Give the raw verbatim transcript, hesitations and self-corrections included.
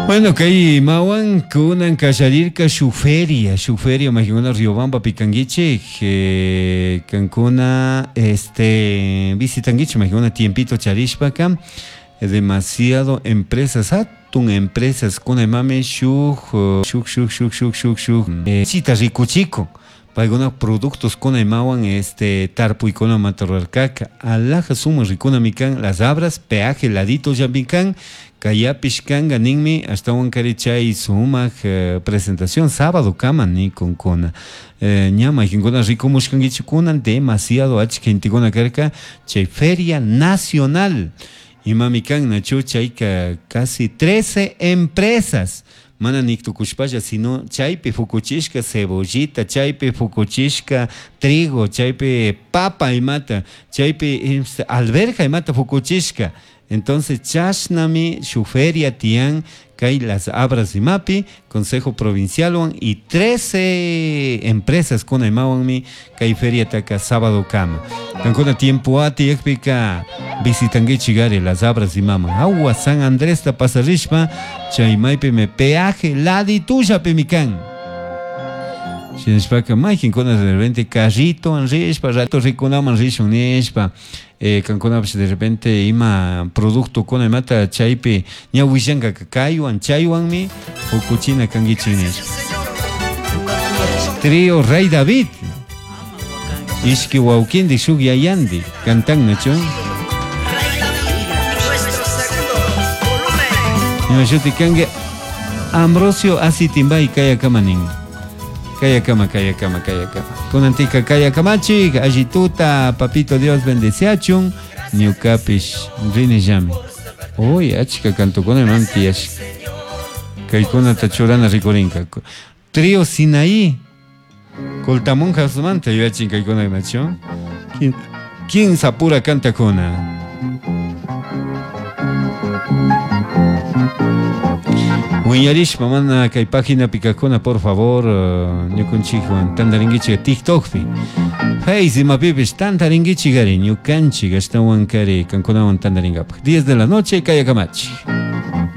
Bueno, kay imawan kunan kalllarirka shuk feria, shuk feria mayqankuna Riobambapi kankichik, eh, kankuna este visitankichik mayqankuna tiempito charishpaka demasiado empresas hatun empresas kuna imami shuk shuk shuk shuk shuk shuk shuk eh, chita rikuchikun paykuna productos kuna imawan este tarpuykunamanta rurarkaka alhaja sumak rikunami kan Las Abras peaje ladito llami kan kayapish kanka ninmi ashtawankari chay sumak eh, presentación sábado kama nikunkuna eh, ña mayqinkuna rikumushkankichik kunan demasiado achka gentekuna karka chay feria nacional imami kan nachu chayka casi trece empresas mana niktukushpalla sino chaypi fukuchishka cebollita chaypi fukuchishka trigo chaypi papa imata chaypi alberja imata fukuchishka entonces chashnami shuk feria tiyan kay Las Abras imapi Consejo Provincialwan y trece empresas kuna imawanmi kay feriataka sábado kama kankuna tiempo atiyakpika visitankichik ari Las Abras imaman hawa San Andresta pasarishpa chay maypimi peaje laditullapimi kan shinashpaka mayqinkuna de repente carritowan rishpa rato rikunaman rishun nishpa eh, kankunapish de repente ima productokuna imata chaypi ña willankaka kaywan chaywanmi pukuchina kankichik nishpa Trío Rey David ishki wawkindik shuk yayandik cantan nachu ima shuti kanki Ambrosio Asitimbay kayakama nin Kayakama, kayakama, kayakama. Kunantika kayakamachik, allituta, papito Dios bendeciachun, ñukapish rinillami. Uy, achka kantukuna imam tiyashka. Kaykunata churana rikurinka. Trío Sinaí. Coltamonjasmanta yuyachin kaykuna nachu. Kinsa pura kantakuna. Wiñarishpa mana kay páginapi kajkuna por favor ñukanchikwan tantarinkichik TikTokpi Face imapipish tantarinkichik ari ñukanchik ashtawankari kankunawan tantarinkapaj diez de la noche kayakamachik.